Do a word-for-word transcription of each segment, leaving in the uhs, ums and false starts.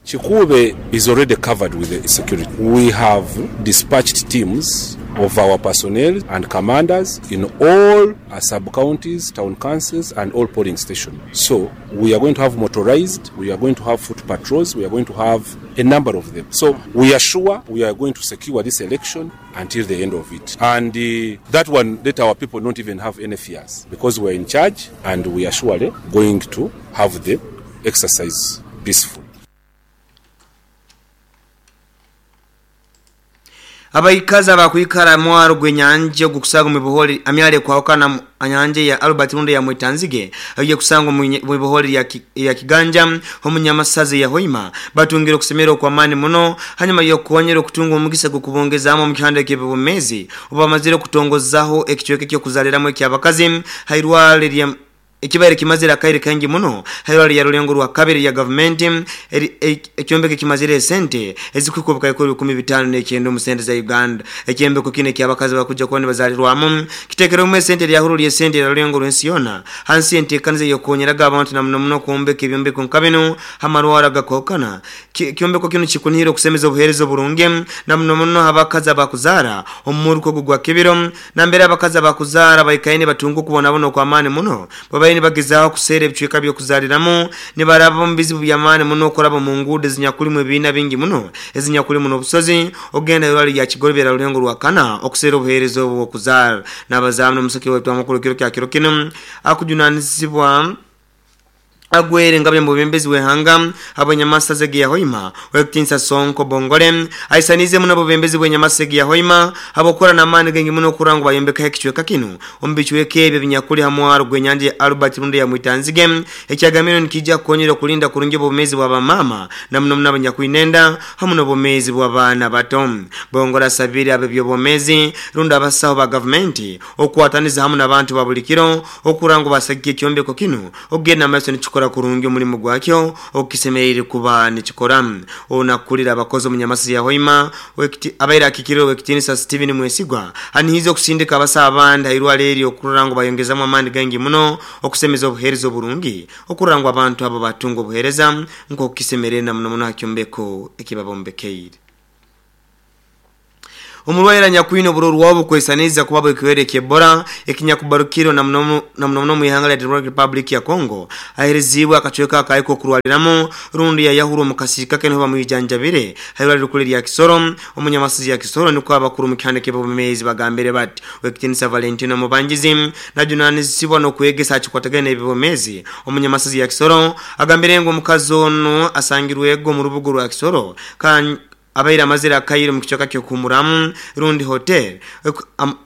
Kikuube is already covered with the security. We have dispatched teams of our personnel and commanders in all our sub-counties, town councils and all polling stations. So we are going to have motorized, we are going to have foot patrols, we are going to have a number of them. So we are sure we are going to secure this election until the end of it. And uh, that one, let our people not even have any fears, because we are in charge and we are surely going to have the exercise peaceful. Abaikaza bakwikara mwaro gwenyanje gukusaga mu buholi amyale kwahokana anyanje ya Albert Runde ya Mwitanzige agiye kusanga mu buholi ya, ki, ya Kiganja omunyamasazi ya Hoima batungiro kusemero kwa mani muno hanyuma yo kuonyera kutunga omugisa gukubongezamo mu kihande kebumezi obamazire kutongozaho ekichweke kyo kuzaliramo ekyabakazi hairwale lya ekibaire kimazira kaire kangi muno hairwale ya rulengo rwa kabiri ya government ekyombeke kimazire sente ezikukubuka ikuru kumi bitano n'ekyenda mu sente za Uganda. Ekyembeko kine kyabakazi bakuja kwani bazalirwamu kitekero mu sente lya huru lya sente ya rulengo rwensiona hansi entekanize yokonyeraga abantu na muno muno kuombeka ebyombeko nkabino hamarwara gakokana kyombeko kino kikunihira kusemeza obuherezo burungi na muno muno abakazi abakuzara omuruko gugwa kibiro na mbere abakazi abakuzara bayikaine batungu kubona bono kwa mani muno babaye bagezaho kusere ebicweka byo kuzaliramo nibaraba mu bizibu byamani muno koraba mu ngude zinyakuli mu bina bingi muno ezinyakuli muno obusozi ogenda yorali ya kigolobera rulengo rwakana okusera obuherezo obwo kuzara nabazamu n'omusiki wetu amakuru kiro kya kiro kino akujunanizibwa agwere ngabye mu bembezi wehanga abanyamasa zegi ya Hoima wekitinsa Sonko Bongole aisanize muno bembezi bwenyamasa zegi ya Hoima abokora na mani gengi muno kurango bayombeka ekichweka kino ombichweke ebyo binyakuli hamwaro gwenyanje Albert Runde ya Mwitanzige ekyagamiro nikija konyera kulinda kurungi bomezi bwa bamama na muno munabanyakuinenda hamu no bomezi bwa bana bato. Bongora sabiri abebyo bomezi runda abasaho ba government okwataniza hamu n'abantu babulikiro okurango basagiye kyombeko kino ogenda amaso nikikora kurungi omulimu gwakyo okukisemerere kuba nikikora. Onakulira abakozi omunyamasi ya Hoima abaira akikiriro wekitinisa Steven Mwesigwa anihize okusindika abasa abandi hairwale eri okurango bayongezamu amani gangi muno okusemeza obuheereza oburungi okurango abantu abo batunga obuheereza nkokukisemerere na muno muno hakyombeko ekibabombekeire. Omulwaire nyakwino bururu wabo kwesaniza kubabo ekiwere kyebora ekinyakubarukiro na muno na muno mu ihanga lya Democratic Republic ya Congo aherezibwa akachweka akaiko kurwaliramo rundi ya yahuru mukasirika kene bamuyijanjabire hairwali rukuli lya Kisoro omunyamasizi ya Kisoro niko abakuru mu kihande kebomezi bagambere bati wekitinisa Valentino Mubangizi najunanizibwa no kwegesa akikwatagana ebibomezi omunyamasizi ya Kisoro agambire ngo mukazono asangirwego mu rubugo rwa Kisoro kan abaira mazira kairo mkichoka kyo kumuramu rundi hotel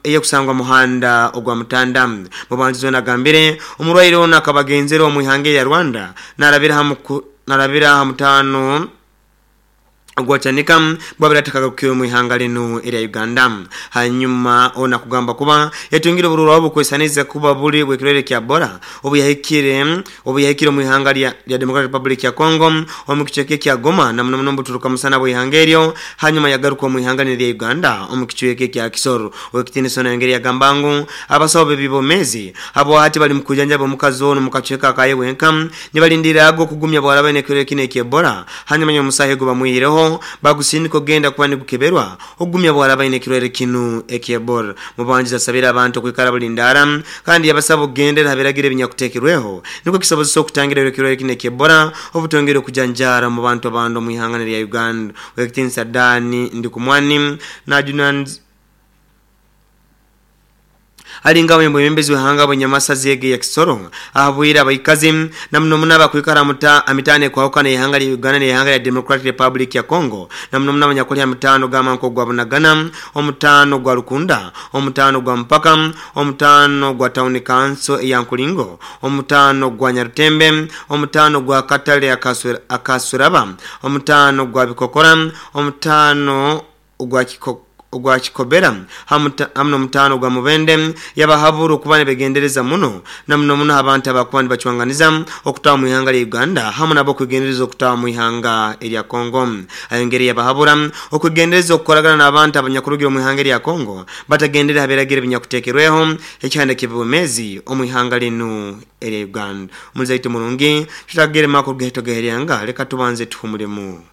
eye kusangwa muhanda ogwa mutanda mubanzizo nagambire omurwaire ona akabagenzero omuihange ya Rwanda narabira hamu narabira hamutano ogwachanika bwabira takagakukiwe mu ihanga lino era Uganda. Hanyuma ona kugamba kuba yatungire bururu wabo kwesaniza kuba buli bwekirere kya bora obuyahikire obuyahikire mu ihanga lya Democratic Republic ya Congo omukicheke kya Goma na muno muno mbuturuka musana bwe ihanga eryo hanyuma yagaruka mu ihanga lya Uganda omukicheke kya Kisoro wekitini sona yongeri ya gambangu abasobe bibomezi abo hati bali mukujanja bomukazo ono mukacheka kaye wenka nibalindira ago kugumya bwalaba nekirere kine kye bora hanyuma nyomusahe go bamuyireho bagusindiko genda kuba nigukeberwa ogumya bwalaba inekirere kinu ekyebor mubanjiza sabira abantu kwikara bulindara kandi yabasaba ogendera habiragire binyakutekerweho niko kisobozo okutangira ekirere kine ekyebora obutongere okujanjara mu bantu abando mu ihanga lya Uganda. Wekitinsa Dani Ndikumwani najunanz alinga wembo membezi wehanga bwenyamasa zege ya Kisoro ahabwira abaikazi na muno munaba kwikara muta amitane kwa hokana ihanga lya Uganda ne ihanga lya Democratic Republic ya Congo na muno munaba nyakoli amitano gama nko gwa Bunagana omutano gwa Rukunda omutano gwa Mpaka omutano gwa Town Council ya Nkulingo omutano gwa Nyarutembe omutano gwa Katale akasuraba omutano gwa Bikokora omutano gwa Kikoko ogwa Kikobera hamu n'omutano gwa Mubende yabahabura okuba nibegendereza muno na muno muno abantu abakuba nibacwanganiza okutawa mu ihanga lya Uganda hamu nabo kwegendereza okutawa mu ihanga erya Kongo. Ayongere yabahabura okwegendereza okukoragana n'abantu abanyakurugira mu ihanga erya Kongo batagendera haberagira ebinyakutekerweho ekihanda ky'ebwemezi omu ihanga linu erya Uganda. Omuzaitu murungi tutagere makuru geto geheryanga leka tubanze tuhumulemu.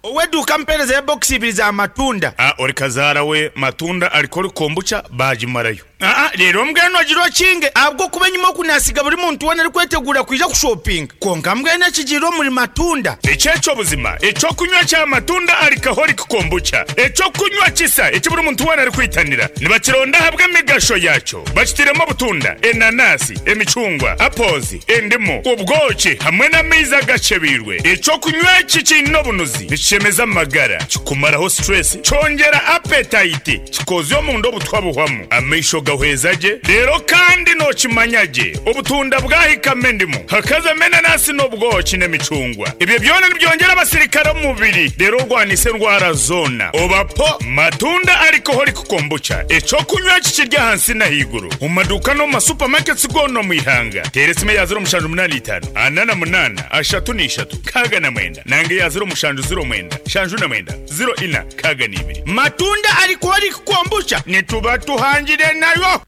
Oweduka mpereza ya box ibiri za matunda. Ah, ori kazara we matunda alikoli kombucha bajimarayo. Ah ah, rero mbweno agiro kinge abwo kuba nyuma kunasiga buri muntu wona ari kwetegura kuja ku shopping. Konka mbweno kigiro muri matunda. Echecho buzima, echo kunywa cha matunda alikaholi kombucha. Echo kunywa kisa, echo buri muntu wona ari kwitanira. Nibakironda habwe migasho yacho. Bakitiremo butunda, enanasi, emichungwa, apples, endimu, ubwoki hamwe n'amaizi agacebirwe. Echo kunywa kikino bunuzi. Chemeza magara kikumaraho stress chongera appetite kikozyo mundo butwabuhwamu amaisho gahwezaje rero kandi no kimanyaje obutunda bwahika mendimu hakaza menanasi n'obwoki n'emicungwa ibyo byona nibyongera abasirikare mubiri rero rwanise ndwara zona obapo matunda alcoholic kombucha echo kunywa kikirya hansi na higuru mu maduka no ma supermarkets gono mu ihanga teresime ya zero mushanju munani itano anana munana ashatu n'ishatu kaga na mwenda nange ya zero mushanju zero mwenda shanju na mwenda zero ina kaga nibiri matunda alcoholic kombucha nituba tuhangire nayo.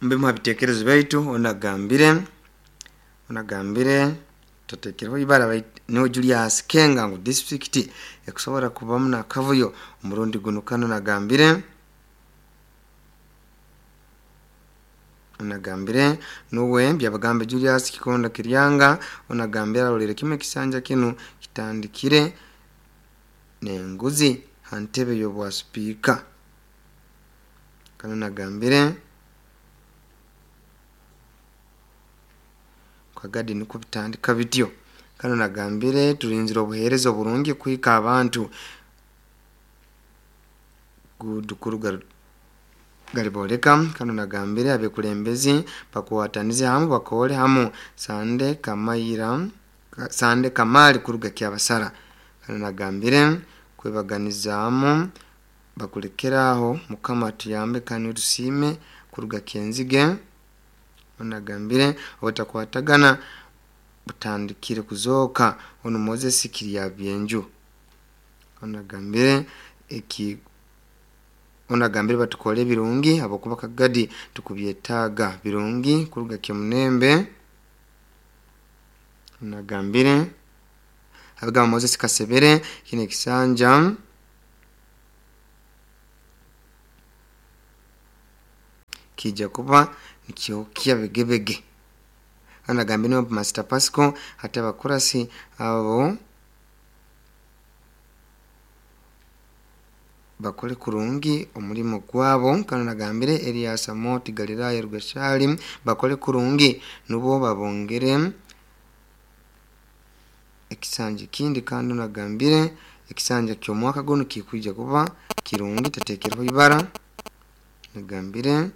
Mbe muhabitekerezo baitu onagambire onagambire tatekereho ibara no Julius Kenga ngo district ekusobora kubamu na kavuyo umurundi gunukano nagambire onagambire nuwe byabagambe Julius Kikonda Kiryanga onagambira rolere kimwe kisanja kinu kitandikire nenguzi hantebe yobwa speaker kano nagambire kwa gadi niko bitandika video kano nagambire turinzira obuhereza oburungi kuhika abantu gudukuruga galiboleka kano nagambire abekulembezi bakuwatanize hamu bakole hamu sande kamayira sande kamali kuruga kyabasara kano nagambire kwebaganizamu bakulekeraho mukama tuyambe kanu tusime kuruga kenzige onagambire obutakwatagana butandikire kuzoka ono Moses Kirya byenju onagambire eki onagambire batukole birungi abokuba kagadi tukubyetaga birungi kuruga kyemunembe onagambire abiga Moses Kasebere kine kisanja kija kuba nikyokia begebege anagambire no Master Pasco hata bakurasi abo bakole kurungi omulimo gwabo kano nagambire Elias Amoti Galilaya Rugashali bakole kurungi nubo babongere ekisanja kindi kandi nagambire ekisanja kyomwaka gono kikuja kuba kirungi tatekerwa ibara nagambire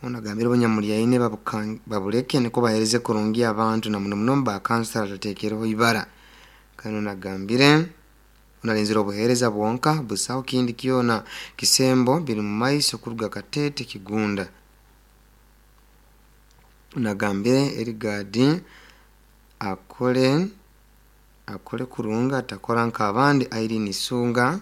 onagambire abanyamulyaine babuleke niko bahereze kurungi abantu na muno muno ba kansala tatekerwa ibara kano nagambire unalinzira obuhereza bwonka busaho kindi kyona kisembo biri mu maiso kuruga Katete Kigunda nagambire Erigadi akole akole kurunga atakora nk'abandi Irene Sunga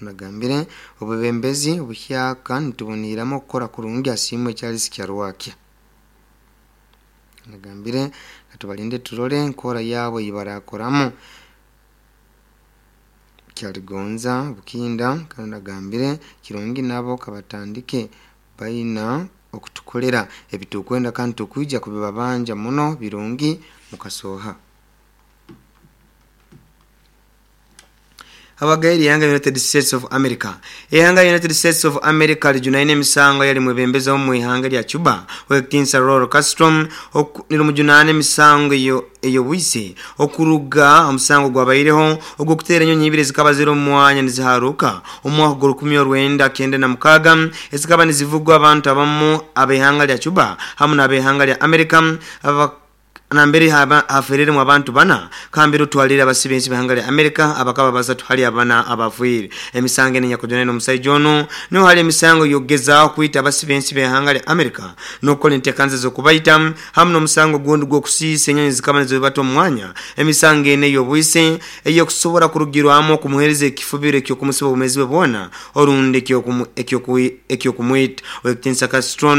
nagambire obubembezi obuhyaka nituboniramo gukora kurungi asimwe Charles Kyarwakya nagambire katubalinde turole nkora yabo ibarakoramo Kyaligonza Bukinda kandi nagambire kirungi nabo kabatandike baina okutukolera ebitukwenda kandi tukuija kubibabanja muno birungi mukasoha. Abagairi yanga United States of America. Ehanga United States of America lijunaine emisango yali mwebembeza omu ihanga lya Cuba wekitinsa Raul Castro nilumujunane emisango eyo eyo bwise okuruga omusango gwabaireho ogwokutera enyonyi ibiri zikaba ziri omwanya niziharuka omwaka gw'olukumi olwenda kenda na mukaga ezikaba nizivugwa abantu abamu ab'ehanga lya Cuba hamu n'ab'ehanga lya America aba nambere haba aferere mu abantu bana kambiro twalira abasibensi bahanga lya America abakaba basatu hali abana abafuire emisango enya kujana no musaijo ono no hali emisango yogeza kwita abasibensi behanga lya America no entekanze zo kubaita hamu no musango gundi gwo kusisa enyonyi zikaba nizibato mwanya emisango ene yobwise eyo kusobora kurugirwamo kumuhereza ekifubiro ekyo kumusiba obumezi bwe bona orundi ekyo ekyo ekyo kumwita wekitinsa Castro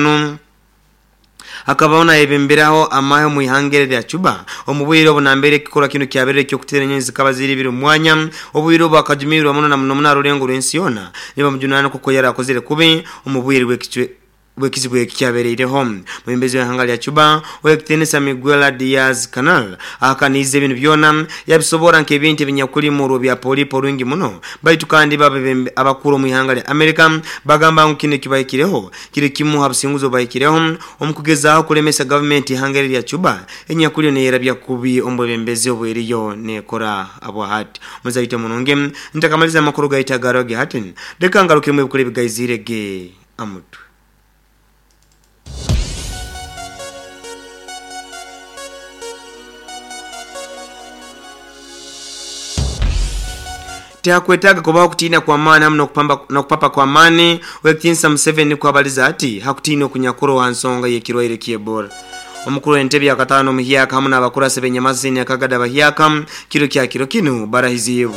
akabaona ebemberaho amahe mu ihangere lya Cuba omubwiro obunambere kikora kino kyaberere kyo kutera enyonyi zikaba ziri biri mwanya obwiro bakajumirwa muno na muno munarulengo lwensi yona niba mujunana kuko yarakozere kubi omubwiro bwekicwe bwekizibu ekyabereireho mumbezi w'ihanga lya Cuba wekitenesa Miguel Diaz Canal akanize ebintu byona yabisobora nk'ebintu ebinyakuli mu bya polipo rungi muno baitu kandi babe abakuru mu ihanga lya America bagamba ngu kino kibayikireho kiri kimu habusinguzo bayikireho omukugezaho kulemesa government ihanga lya Cuba enyakuli neyerabya kubi ombwebembezi obweriyo nekora abwahati muzaite munonge ntakamaliza amakuru gaita garoge hatin reka ngaruke mu bikore bigayizirege amutu. Hakwetaga kubaho kutina kwa maana hamu kupamba na kupapa kwa mani wekitinsa Museveni kwabaliza ati hakutina okunyakuro wa nsonga y'ekirwaire ky'Ebola. Omukuru w'entebe ya katano muhyaka hamu n'abakurasi b'enyamazini akagada bahyaka kiro kya kiro kino barahizibu.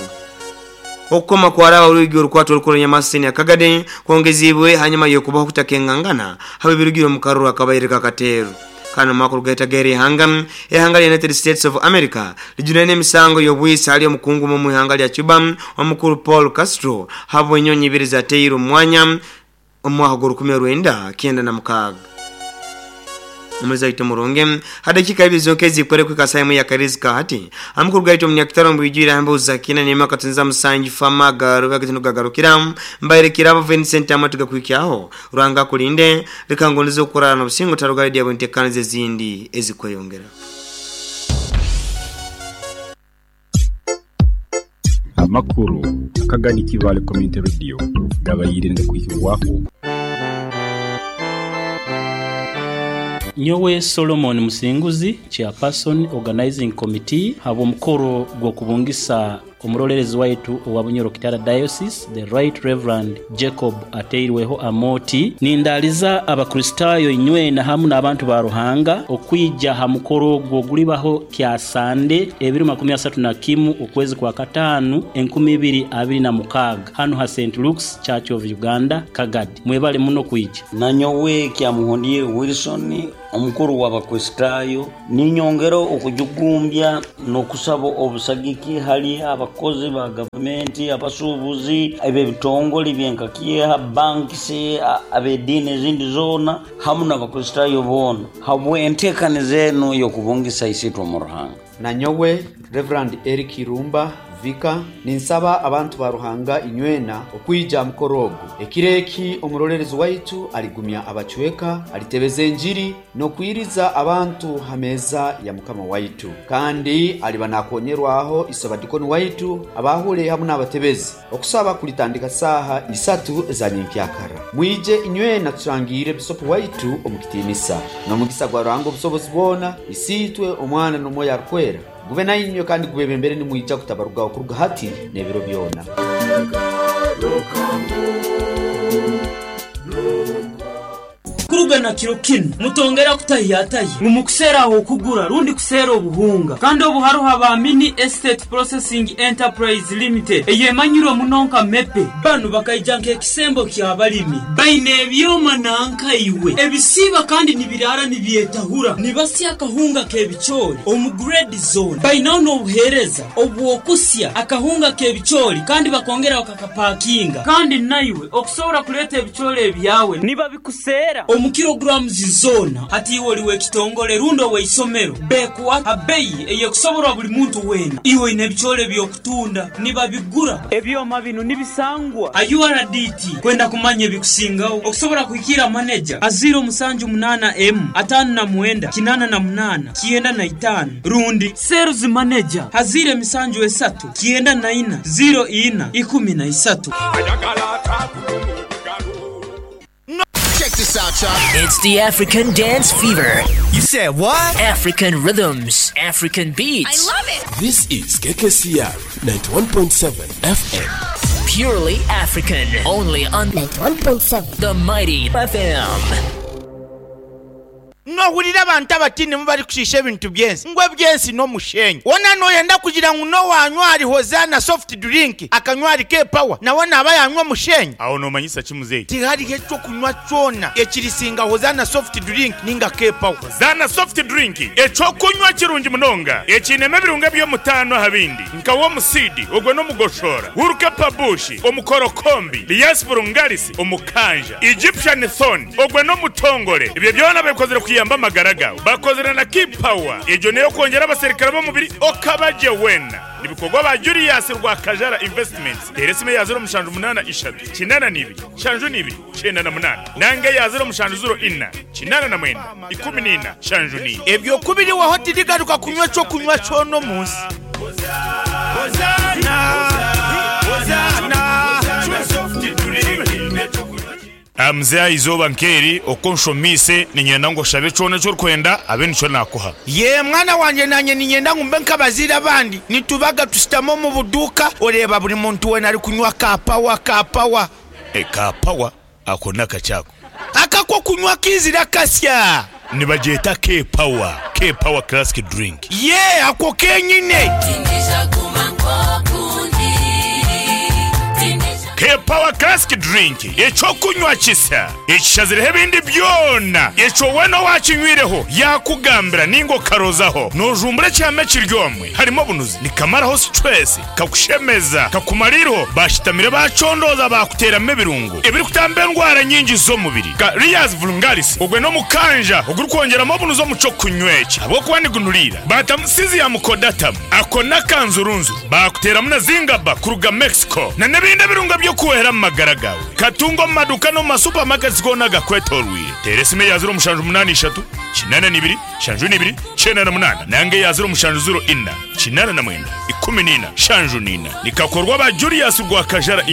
Okukoma kwaraba urugi orukwato orukuru nyamasini akagade kwongezibwe hanyuma yokubaho kutakengangana habe birugiro mu karuru akabaireka kateru. Kano makuru gaita geri hanga ehanga United States of America lijunene misango yobwisa ali omukungu mu ihanga lya Cuba omukuru Paul Castro habo enyonyi ibiri za teiro mwanya omwaka gw'olukumi olwenda kenda na mukaga. Umuzaito muronge hadakika ibiri zonkezi kore kwikasaimu ya karizika hati amukuru gaito munyakitaro mbwijira hambo zakina nema katunza musanji fama garuka kitino gagarukira mbayerekira Vincent amatuga kwikyaho rwanga kulinde rikangonizo kurana no busingo tarugali dia buntekanize zindi ezikweyongera. Amakuru akagani kivale community radio gabayirinde kwikwaho. Nyowe Solomon Musinguzi, chairperson organizing committee, habo mukoro gwokubungisa omurolerezi waitu owa Bunyoro Kitara Diocese, the Right Reverend Jacob Ateirweho Amoti, nindaliza abakristayo inywe na hamu n'abantu ba Ruhanga okwija ha mukoro gwogulibaho kya Sande ebiri makumi asatu na kimu okwezi kwa katanu enkumi ibiri abiri na mukaga hano ha Saint Luke's Church of Uganda Kagadi. Mwebale muno kwija. Nanyowe kya Muhondie Wilson omukuru w'abakristayo ninyongero okujugumbya n'okusaba obusagiki hali abakozi ba gavumenti, abasuubuzi, eb'ebitongole byenkakiha, bankisi, ab'eddiini ezindi zoona hamu n'abakristayo boona habwe enteekaniza eno y'okubungisa isitwe mu Ruhanga. Nanyowe Reverend Eric Irumba Vika ninsaba abantu ba Ruhanga inywena okwija mukorogo ekireki omurolerezi waitu aligumya abachweka alitebeza enjiri nokwiriza abantu hameza ya mukama waitu kandi aliba nakonyerwaho isabadikoni waitu abahule hamwe n'abatebezi okusaba kulitandika saha isatu za nyenkyakara. Mwije inywena turangire bisopo waitu omukitinisa nomugisa gwa Ruhanga obusobozi bwona isitwe omwana n'omwoyo arukwera gube nayinywe kandi gubebembere nimwijja kutabaruga okuruga hati n'ebiro byona. Kuruga na kiro kino mutongera kutahiyatayi mumukusera aho kugura rundi kusera obuhunga kandi obuharuha ba Mini Estate Processing Enterprise Limited eyemanyiro munonka mepe banu bakaija nk'ekisembo ky'abalimi baine ebyoma nanka iwe ebisiba kandi nibirara nibyetahura nibasya akahunga k'ebichori omu grade zone bainaho n'obuhereza obwokusya akahunga k'ebichori kandi bakongera bakakapakinga kandi naiwe okusobora kuleta ebichori ebyawe niba bikusera omu Omu kilograms zoona hati iwe oli w'ekitongole rundi ow'eisomero bekuwa abeyi eyekusoborwa buli muntu weena. Iwe oyine ebicoole by'okutunda nibabigura. Ebyoma bino nibisangwa a U R D T. Kwenda kumanya ebikusingaho okusobola kuhikira manager a zero musanju munana M atano na mwenda kinana na munana kienda na itano rundi sales manager a zero misanju esatu kienda na ina zero ina ikumi na isatu. Check this out, y'all. It's the African Dance Fever. You said what? African rhythms, African beats. I love it. This is K K C R ninety-one point seven F M. Purely African. Only on ninety-one point seven. The Mighty F M. Nohurira abantu abatini mubari kushisha ebintu byensi ngwe byensi no mushenyi wona noyenda kugira ngu no wanywa ari Hozana soft drink akanywa ari K Power nawe naba yanywa mushenyi. Aho nomanyisa kimuzeyi tihari cyo kunywa cyona ekirisinga Hozana soft drink ninga K Power. Hozana soft drink eco kunywa kirungi munonga ekinema ebirunga byo mutano habindi nka wo musidi ogwe no mugoshora wuruka pabushi omukorokombi liasburungarisi omukanja Egyptian thorn ogwe no mutongole ibyo byona bekozere kuyamba amagara gawe bakozera na K Power ejo niyo kongera abaserikare bo mubiri okabaje wena nibikorwa ba Julius Rwakajara Investments teresime ya zero mushanju munana ishatu kinana nibi shanju nibi chenda na munana nange ya zero mushanju zero ina kinana na mwenda ikumi nina shanju ni ebyo kubiri wa hoteli garuka kunywa cyo kunywa cyo no munsi. Hozana Hozana Amzea izoba nkeri okonshomise ninyenda ngo shabe cone cyo kwenda abe nico nakuha. Ye mwana wanje nanye ninyenda ngumbe nkabazira abandi nitubaga tusitamo mu buduka oreba buri muntu we nari kunywa ka power ka power. E ka power akona kachako akako kunywa kizira kasya nibajeta K Power K Power classic drink. Ye ako kenyine K Power classic drink eco kunywa kisa ekishazireho ebindi byona eco weno wakinywireho yakugambira ningo karozaho nojumbura cyame kiryomwe harimo bunuzi nikamaraho stress kakushemeza kakumariro bashitamire bacondoza bakuteramo ebirungo ebiri kutamba endwara nyingi z'omubiri ka Rias Vulgaris ogwe no mukanja oguri kongeramo bunuzo muco kunyweki abo kuba nigunurira batamusizi ya mukodatamu akona kanzurunzu bakuteramo na zingaba kuruga Mexico na nebindi birungo byo kuhera magara gawe katungo maduka no masupermarkets gona gakwetorwire teresime ya zero mushanju munani ishatu kinana nibiri shanju nibiri chena na munana nange ya zero mushanju zero ina kinana na mwenda ikumi nina shanju nina nikakorwa ba Julius Rwakajara.